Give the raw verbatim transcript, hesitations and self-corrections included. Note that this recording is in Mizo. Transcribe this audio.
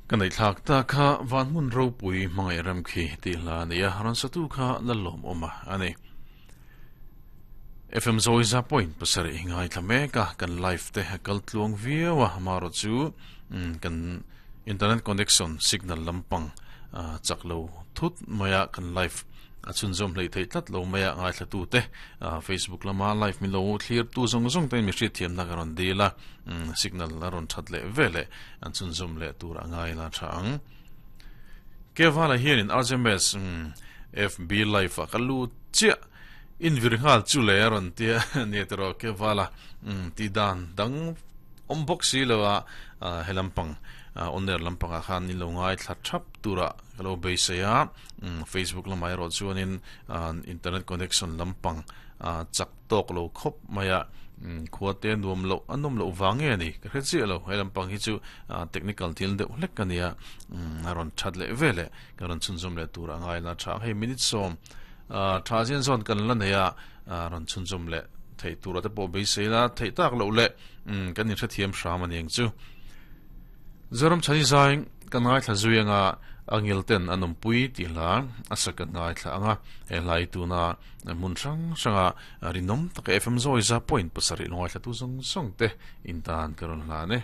Kan ei thlak ta kha van hmun ropui hmangaih ram khi tih hla a ni a, rawn satu kha lalawm awm a a ni. F M Zawiza point pasarih ngaithla mek a, kan live te a kal tluang viau a, amaherawh chu kan internet connection signal lampang chak lo thut mai a, kan live a chhunzawm hleih theih tlat lo mai a, ngaithla tu te Facebook lama live min lo thlir tu zawng zawng te in mi hriatthiamna ka rawn dil a, signal a rawn that leh ve leh an chhunzawm leh tur a ngai la tha ang. Kevala hianin R J M S F B live ah ka lut chiah in vir nghal chu le a rawn tia nia tiraw Kevala ti dan dang awm bawk si lo a, he lampang on air lampangah khan in lo ngaithla thap turah ka lo beisei a, Facebook lamah erawh chuanin internet connection lampang chak tawk lo khawp mai a, khua te nuam loh a nawm loh vang nge a ni ka hre chiah lo, he lampang hi chu technical thil deuh hlek a nia, a rawn that leh ve leh ka rawn chhunzawm leh tur a ngai la tha ang, hei minute sawm tha zin zawn kan la nei a, rawn chhunzawm leh theih tur te pawh beisei la theih tak loh leh kan inhrethiam hram a ni ang chu. Zoram Chhani zai kan ngaithla zui anga angil ten an awmpui tih hla a sak kan ngaithla anga, he hla hi tuna hmun hrang hranga rinawm taka F M Zawiza point pasarih lo ngaithla tu zawng zawng te in tan ka rawn hlan e.